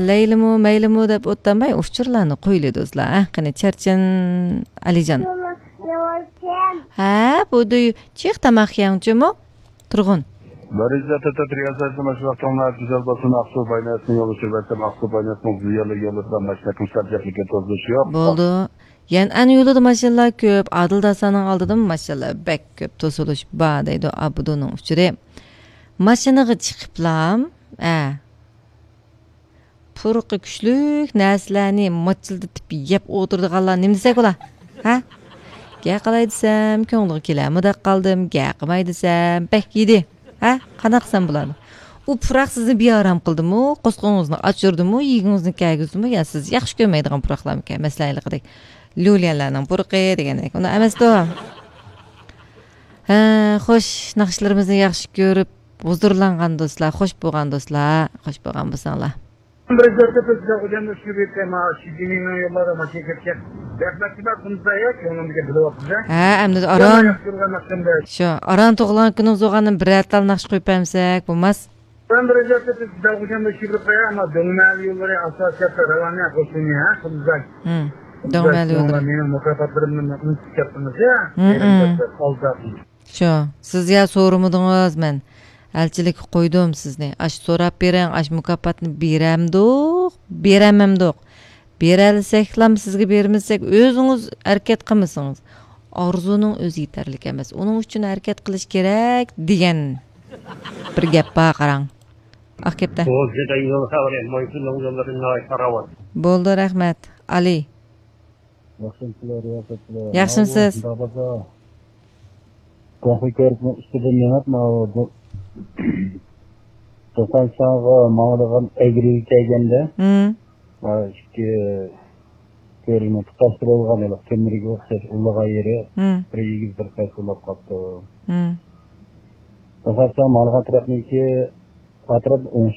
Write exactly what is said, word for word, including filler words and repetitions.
لەيلىمۇ، مەيلىمۇ دەپ ئولتۇرماي، ئۇچۇرلارنى قويىلى دوستلار. ھە، قېنى، چەرچەن ئەلىجان. ھە، بۇ دۇي، چىق تاماق يەڭچىمۇ؟ تۇرغۇن. بىرىنچى تۆت رىياسەتنى ماشۇ ۋاقتىڭلار گۈزەل بولسۇن، ئاقسۇ بايناسنى يوللىشىپ بەرسەم، ئاقسۇ بايناسنىڭ بۇ يەرلىك يوللىرىدا ماشىنا كىمسار جەپلىككە توزۇلۇشى يوق. بولدى. يەنئەن يولىدا ماشىنىلار كۆپ، ئادىل داسانىڭ ئالدىدىمۇ ماشىنىلار بەك كۆپ، توسۇلۇش بار دەيدۇ ئابدۇنىڭ ئۇچۇرى. ماشىنىغا چىقىپلام، ئە، پۇرىقى كۈچلۈك نەرسىلەرنى ماچىلدىتىپ يەپ ئولتۇرىدىغانلار نېمە دېسەك بولا؟ ھە؟ گە قىلاي دېسەم، كۆڭلىگە كېلەرمۇ دەپ قالدىم، گە قىلماي دېسەم، بەك يېدى. ھە؟ قانداق قىلسام بولىدۇ؟ ئۇ پۇراق سىزنى بىئارام قىلدىمۇ، قورسىقىڭىزنى ئاچۇردىمۇ، يېگۈڭىزنى كەلگۈزدىمۇ، يا سىز ياخشى كۆرمەيدىغان پۇراقلارمىكەن؟ مەسىلەن، ھېلىقىدەك ليۇليەنلەرنىڭ پۇرىقى دېگەندەك. ئۇنداق ئەمەستۇ. ھە، خوش، ناخشىلىرىمىزنى ياخشى كۆرۈپ، ھۇزۇرلانغان دوستلار، خوش بولغان دوستلار، خوش بولغان بولساڭلار. بىر جايدا بىز بىلەن ئۇجامدا شۇ بىر تېما، شۇ جىنىڭ يوللاردا ماشىنا كەتكەن. رەھمەت، شۇنداق قىلمىسا يا، كۆڭلۈمگە بىلىۋاتىمىز، ھە؟ ھە، ئەمدى ئاران، ياخشى كۆرگەن ناخشامدا. شۇ، ئاران تۇغۇلغان كۈنىڭىز بولغاندىن بىرەر تال ناخشا قويۇپ بەرمىسەك بولماس؟ بىر جايدا بىز بىلەن ئۇجامدا شۇ بىر قويا، ئەمما دۆڭمەل يوللىرى ئاساسىيەتتە راۋانە قوشۇنى، ھە، قىلمىساك. ھىم، دۆڭمەل يوللىرى. مېنىڭ مۇكاپاتلىرىمنى ئۇنتۇپ كەتتىڭىز يا. ھىم، ھىم. ئالداپ. شۇ، سىز يا سورىمىدىڭىز، مەن ئەلچىلىككە قويدۇم سىزنى. ئاش سوراپ بېرىڭ، ئاش مۇكاپاتنى بېرەمدۇق، بېرەمەمدۇق؟ بېرەلىسەكلام سىزگە بېرىمىز دېسەك، ئۆزىڭىز ھەرىكەت قىلمىسىڭىز. ئارزۇنىڭ ئۆزى يېتەرلىك ئەمەس، ئۇنىڭ ئۈچۈن ھەرىكەت قىلىش كېرەك دېگەن بىر گەپ بار، قاراڭ. ئاق گەپتە. بولدى، رەھمەت. ئالى. ياخشىمسىلەر، رىياسەتچىلەر؟ ياخشىمسىز؟ ئاۋۇ، شۇنداق بولسا، كونفى كۆرۈشنىڭ ئۈستىدىن مېڭىپ، ماۋۇ دو-، دوكانچىلارغا ماڭىدىغان ئەگرىگە كەلگەندە، ھىم. مانا ئىككى كۆرۈنۈپ تۇتاشتۇرۇلغان ھېلىقى تۆمۈرگە ئوخشاش ئۇلىغان يېرى، ھىم. بىر ئېگىز بىر پەس بولۇپ قاپتۇ. ھىم. دوكانچىلار ماڭىدىغان تەرەپنىڭكى ئەتراپ ئوڭ